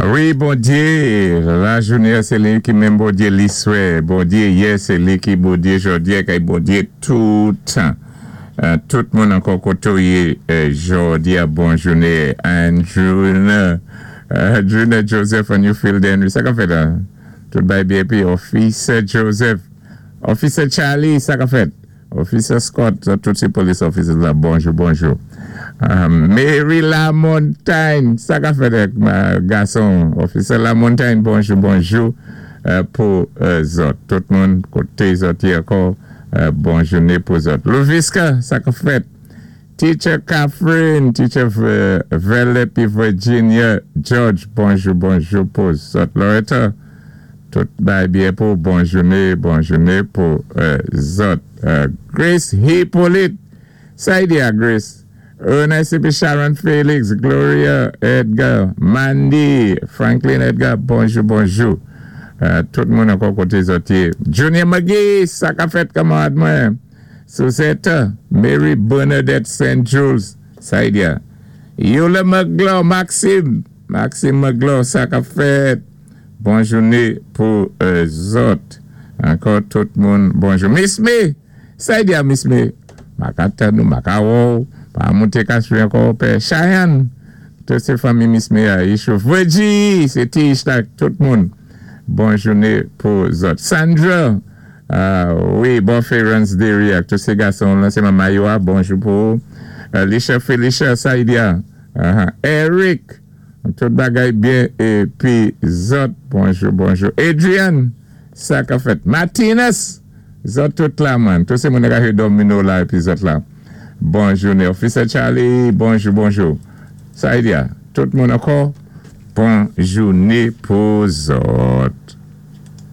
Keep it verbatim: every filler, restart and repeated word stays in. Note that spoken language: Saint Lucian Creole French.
Wi, Bondyé, lajounen sé li ki menm Bondyé liswè. Bondyé yè, sé li ki Bondyé jòdi-a, kay Bondyé toutan. Euh, tout moun ankò koté ou yé euh, jòdi-a, bon jounen. Andrew, euh, Andrew Joseph on Newfield Henry. Sa k ap fèt la? Tout bay byen pi Officer Joseph. Officer Charlie, sa k ap fèt? Officer Scott, tout sé police officers la, bonjou, bonjou. Um, Mary LaMontagne, sa k ap fèt gason? Officer LaMontagne, bonjou, bonjou euh, pou euh, zòt. Tout moun koté zòt yé ankò, euh, bon jounen pou zòt. Louviska, sa k ap fèt? Teacher Catherine, Teacher Velepi Virginia, George, bonjou, bonjou pou zòt. Loretta, tout bay byen pou bon jounen, bon jounen pou zòt. Grace Hippolyte, sa i di a Grace? Ernest Sharon Felix, Gloria Edgar, Mandy, Franklin Edgar, bonjou, bonjou. Tout moun ankò koté zòt yé. Junior McGee, sa k ap fèt kanmarad mwen? Suzette, Mary Bernadette Saint Jules, sa i di a. Yola McGlaw, Maxime, Maxime McGlaw, sa k ap fèt? Bon jounen pou zòt. Ankò tout moun, bonjou. Miss Me, sa i di a Miss Me? Makata nou, makawo, pa monté kaswe ankò, pè Cheyenne, tout sé fanmi Miss Me a, Yishou Virgie, sé Tish la, tout moun. Bon jounen pou zòt. Sandra, wi, bon Ference Derry, ak tout sé gason, lan sé manman yo a, bonjou pou. Lisha Felicia, sa i di a. Eric, tout bagay byen, épi zòt, bonjou, bonjou. Adrian, sa k ap fèt. Martinez, zòt tout la man, tout sé moun ka domino la, épi zòt la. Bon jounen. Officer Charlie, bonjou, bonjou. Sa i di a, tout moun ankò, bon jounen pou zòt.